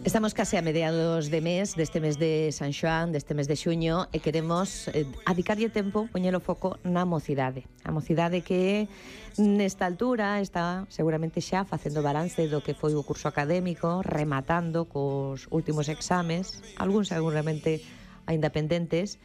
Estamos case a mediados de mes, deste mes de San Xoán, deste mes de xuño, e queremos adicarlle tempo, poñelo foco na mocidade. A mocidade que nesta altura está seguramente xa facendo balance do que foi o curso académico, rematando cos últimos exames, algúns seguramente aínda pendentes,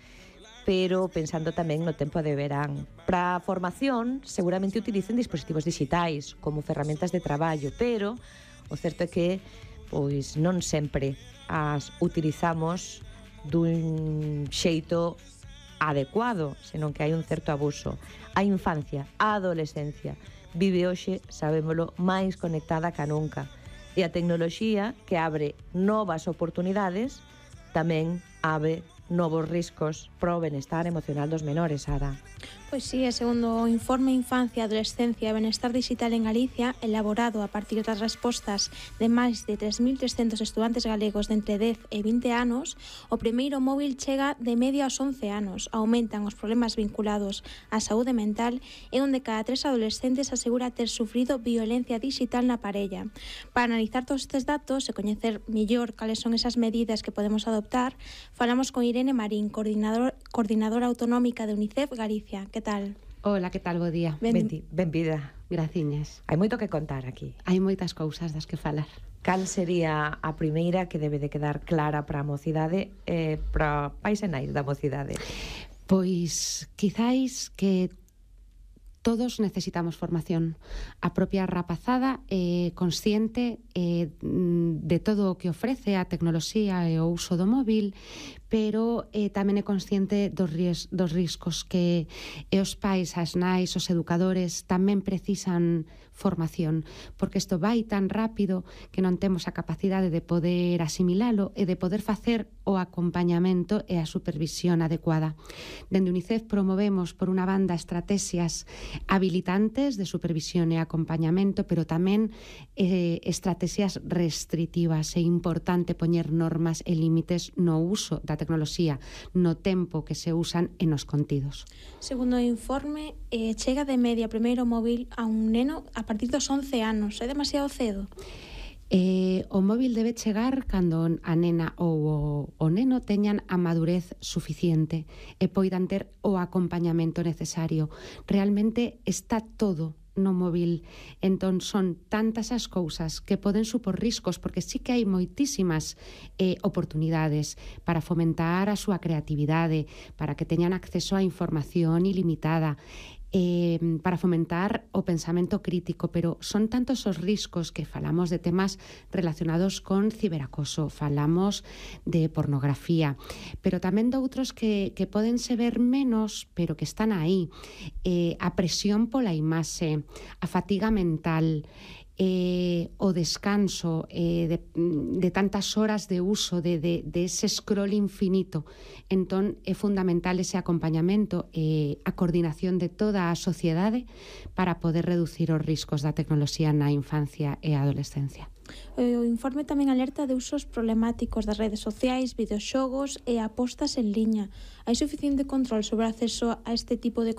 pero pensando tamén no tempo de verán. Para a formación, seguramente utilicen dispositivos digitais como ferramentas de traballo, pero o certo é que pois non sempre as utilizamos dun xeito adecuado, senón que hai un certo abuso. A infancia, a adolescencia, vive hoxe, sabémolo, máis conectada ca nunca. E a tecnoloxía, que abre novas oportunidades, tamén abre novos riscos para o benestar emocional dos menores, Sara. Pois sí, segundo o informe Infancia, Adolescencia e Benestar Digital en Galicia, elaborado a partir das respostas de máis de 3.300 estudantes galegos de entre 10 e 20 anos, o primeiro móvil chega de media aos 11 anos, aumentan os problemas vinculados á saúde mental e onde cada 3 adolescentes asegura ter sufrido violencia digital na parella. Para analizar todos estes datos e coñecer mellor cales son esas medidas que podemos adoptar, falamos con Irene Marín, coordinadora autonómica de UNICEF Galicia. Que tal? Hola, que tal? Bo día. Benvida. Graciñas. Hai moito que contar aquí. Hai moitas cousas das que falar. Cal sería a primeira que debe de quedar clara para a mocidade e para pais e nais da mocidade? Pois, quizáis que todos necesitamos formación. A propia rapazada é consciente de todo o que ofrece a tecnoloxía e o uso do móvil, pero tamén é consciente dos riscos que os pais, as nais, os educadores tamén precisan formación, porque isto vai tan rápido que non temos a capacidade de poder asimilalo e de poder facer o acompañamento e a supervisión adecuada. Dende UNICEF promovemos, por unha banda, estrategias habilitantes de supervisión e acompañamento, pero tamén estrategias restritivas. É importante poñer normas e límites no uso da tecnoloxía, no tempo que se usan e nos contidos. Segundo o informe, chega de media primeiro móvil a un neno a partir dos 11 anos. É demasiado cedo? O móvil debe chegar cando a nena ou o neno teñan a madurez suficiente e poidan ter o acompañamento necesario. Realmente está todo no móvil, entón son tantas as cousas que poden supor riscos, porque sí que hai moitísimas oportunidades para fomentar a súa creatividade, para que teñan acceso a información ilimitada, para fomentar o pensamento crítico, pero son tantos os riscos que falamos de temas relacionados con ciberacoso, falamos de pornografía, pero tamén de outros que poden se ver menos, pero que están aí. A presión pola imaxe, a fatiga mental, o descanso de tantas horas de uso de ese scroll infinito. Entón é fundamental ese acompañamento e a coordinación de toda a sociedade para poder reducir os riscos da tecnoloxía na infancia e a adolescencia. O informe tamén alerta de usos problemáticos das redes sociais, videoxogos e apostas en liña. Hai suficiente control sobre o acceso a este tipo de